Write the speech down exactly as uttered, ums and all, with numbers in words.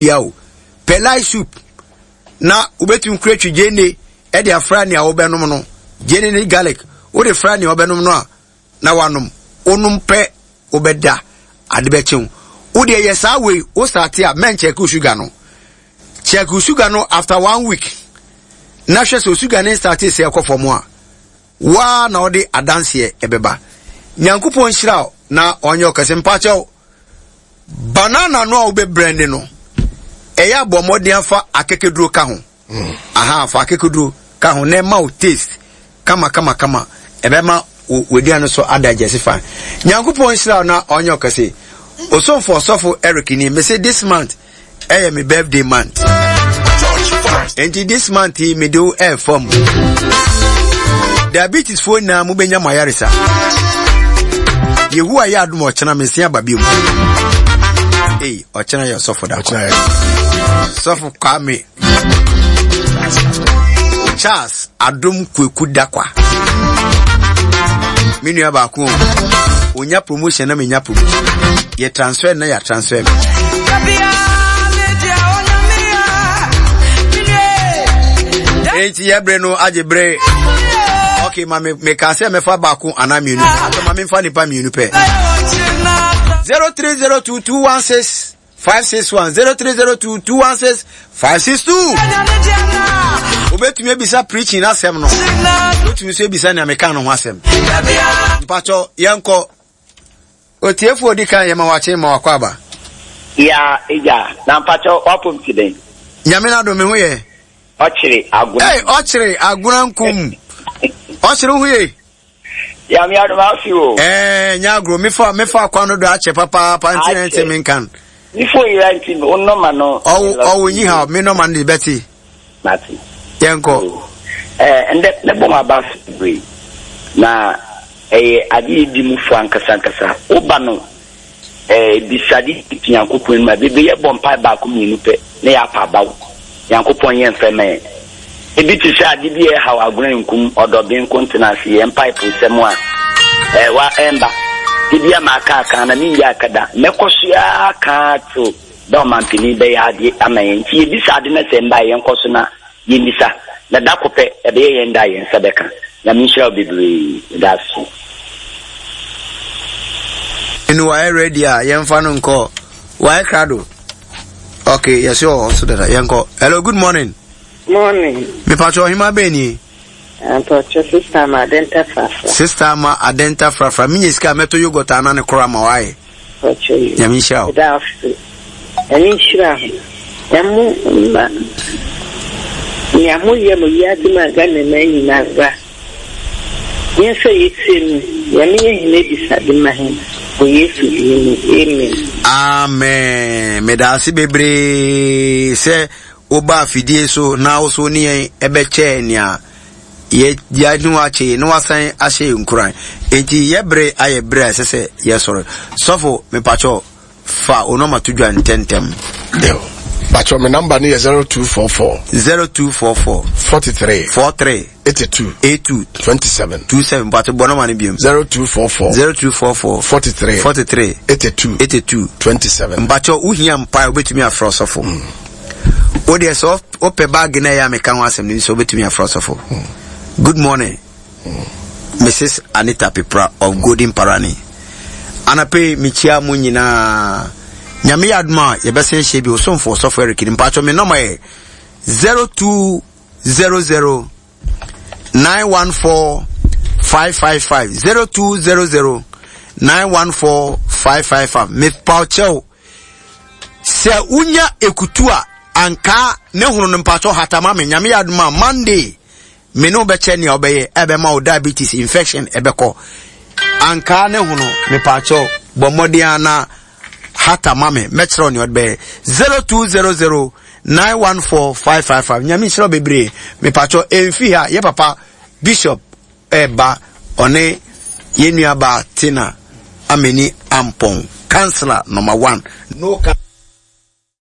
Bia o, pɛ light soup na wobɛtumi kura twi gyeene ɛde afra nea wobɛnom no, gyeene ne garlic wode fra nea wobɛnom no a na wanom. Wonom pɛ, wobɛda, ade bɛkye wo. Wodeɛ yɛ saa wei, wo starte a mɛnkyɛke wo sugar no. Check wo sugar no after one week na hwɛ sɛ sugar ne starte sɛ ɛkɔ fam a, waa na ɔde adanseɛ ɛbɛba. Nyankopɔn nhyira wo na ɔnyɛ ɔkɛse. Mpakyɛw, banana no a wobɛbrɛnde no, ɛyɛ abɔ mmɔden afa akɛkɛduro ka ho. Aha, fa akɛkɛduro ka ho na ɛma wo taste kama kama kama, ɛbɛma w'aduane so ada gyɛse fine. Nyankopɔn nhyira wo na ɔnyɛ ɔkɛse. Osomfo Ɔsɔfo Eric ni. Mese this month ɛyɛ me birthday month, nti this month yi mede wo ɛɛfa mu. Diabetes foɔ nyinaa mobɛnya mo ayaresa. Yehowa yɛ adom, ɔkyena mense aba bio mu. Ei, ɔkyena yɛ ɔsɔfo da. Sɔfo Kwame Charles Adom Kweku Dakwa, me nua baako o, onya promotion na menya promotion, yɛ transfer na yɛ transfer me. Enti yɛbere no agye bere. Okay, ma me meka sɛ mɛfa baako anaa mmienu atɔ, ma memfa nipa mmienu pɛ. zero three zero two two one six five six one, zero three zero two two one six five six two. Wobɛtumi abisa preaching asɛm no, wobɛtumi nso abisa nea meka no ho asɛm. Mpakyɛ, yɛnkɔ otiefoɔ odi kan. Yɛma wakye, ma wakɔ aba. Ya egya, na mpakyɛ, wapom ti den? Nyame no adom, me ho yɛ. Ɔkyere Agona. Hey, Ɔkyere Agona nkum, Ɔkyere, wo ho yɛ? Nyame adom, afi o. Ɛɛ, nyɛ agorɔ, mefa mefa kwan no do akyɛ papaapa, nti na nti menka no. Me phone yera nti wo nɔma no. Ɔwo ɔwo nyi ha, me nɔma no de bɛte. Mate. Yɛnkɔ. Ɛɛ, ndɛ mɛbɔ mo aba bebree na ɛyɛ ade yɛ di mu fo ankasa ankasa. Woba no ɛɛ bisade ti Nyankopɔn anim a, bebree yɛbɔ mpae baako mmienu pɛ na yɛapa abaw. Nyankopɔn yɛ mfɛ ma yɛn. Ebi te sɛ ade bi a ɛhaw Agona nkum ɔdɔben nko ntena ase yɛn mpaepo nsɛm a ɛwa ɛmba. Ebi ama aka aka na mengya aka da. Mɛkɔ so ara aka till da ɔmampanin bɛyɛ ade ama yɛn. Nti yɛbisa ade na sɛ mba a, yɛnkɔ so na yɛmmisa. Na da ko pɛ ɛbɛyɛ yɛn da a yɛn nsa bɛka. Nyame nhyira wo bebree. Meda ase. Ɛnu wayɛ ready a, yɛmfa no nkɔ. Wayɛ krado. Okay, yɛsɛ wɔ hɔ so dada. Yɛnkɔ. Hello, good morning. Morning. Mepatwɛ, ɔhema bɛn nie? Mpɔkyɛ, Sister Ma Adenta Frafra. Sister Ma Adenta Frafra, menya sika a mɛtɔ yogurt ana ne koro ama wayɛ. Mpɔkyɛ yi. Nyame nhyira wo. Ɛda ase. Nyame nhyira ho. Na mo mma nea moyɛ mo wiase mu a Ghana man nyinara. Yɛn sɛ yɛtie no, Nyame yɛ hene abisade ma hɛn wɔ Yesu din mu. Amen. Amen. Meda ase bebree sɛ woba afidie so na wo so ne yɛn ɛbɛkyɛɛ nea yɛne wakye na wasan ahyɛ yɛn nkuran. Enti yɛbere ayɛ bere a ɛsɛ sɛ yɛsɔre. Sɔfo, mepakyɛw, fa wo nɔma to dwa ntɛntɛm. Pakyɛ, me number no yɛ zero two four four. zero two four four. forty-three. forty-three. eighty-two. eighty-two. twenty-seven. twenty-seven. Mpakyɛ, bɔ nɔma no biom. zero two four four. zero two four four. forty-three. forty-three. eighty-two. eighty-two. twenty-seven. Mpakyɛ, wohia mpae, wobɛtumi afrɛ ɔsɔfo. Wodeɛ sɛ wopɛ bag no ɛyɛ a meka ho asɛm no sɛ wobɛtumi afrɛ ɔsɔfo. Good morning, Missus Anita Pipra of Golden Parani. Anapɛ mekyia mo nyinaa. Nyame yɛ adom a, yɛbɛsɛn hyɛ bi. Osomfo Ɔsɔfo Eric ni. Mpakyɛ, me nɔma yɛ zero two zero zero nine one four five five five, zero two zero zero nine one four five five five. Mepakyɛw, sɛ wonya ekutu a ankaa ne hono no, mpakyɛw, hatama me. Nyame yɛ adom a, Monday me ne wobɛkyɛ nea wobɛyɛ ɛbɛma wo diabetes infection ɛbɛkɔ. Ankaa ne hono, mepakyɛw, bɔ mmɔden a na hata ma me, mɛkyerɛ wo nea ɔde bɛyɛ. zero two zero zero nine one four five five five. Nyame nhyira wo bebree. Mepakyɛw, ɛmfi ha, yɛ papa Bishop ɛɛba, ɔne yɛn nuabaa Tina Ameni Ampɔn, councillor number one no.